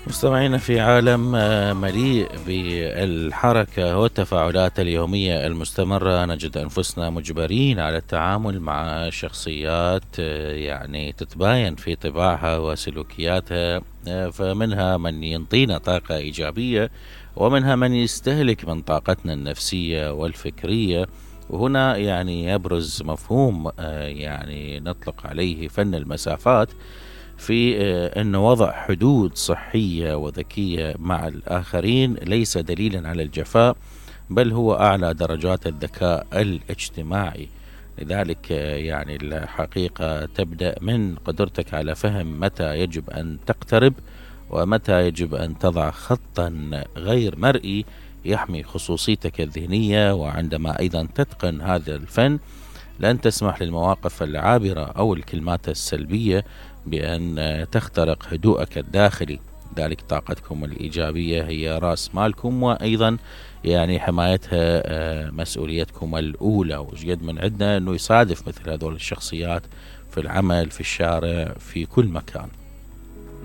مستمعينا، في عالم مليء بالحركة والتفاعلات اليومية المستمرة، نجد أنفسنا مجبرين على التعامل مع شخصيات يعني تتباين في طباعها وسلوكياتها. فمنها من ينطينا طاقة إيجابية، ومنها من يستهلك من طاقتنا النفسية والفكرية. وهنا يعني يبرز مفهوم يعني نطلق عليه فن المسافات، في أن وضع حدود صحية وذكية مع الآخرين ليس دليلا على الجفاء، بل هو أعلى درجات الذكاء الاجتماعي. لذلك يعني الحقيقة تبدأ من قدرتك على فهم متى يجب أن تقترب، ومتى يجب أن تضع خطا غير مرئي يحمي خصوصيتك الذهنية. وعندما أيضا تتقن هذا الفن، لن تسمح للمواقف العابرة أو الكلمات السلبية بأن تخترق هدوءك الداخلي. ذلك طاقتكم الإيجابية هي رأس مالكم، وأيضا يعني حمايتها مسؤوليتكم الأولى. وجد من عندنا أنه يصادف مثل هذول الشخصيات في العمل، في الشارع، في كل مكان.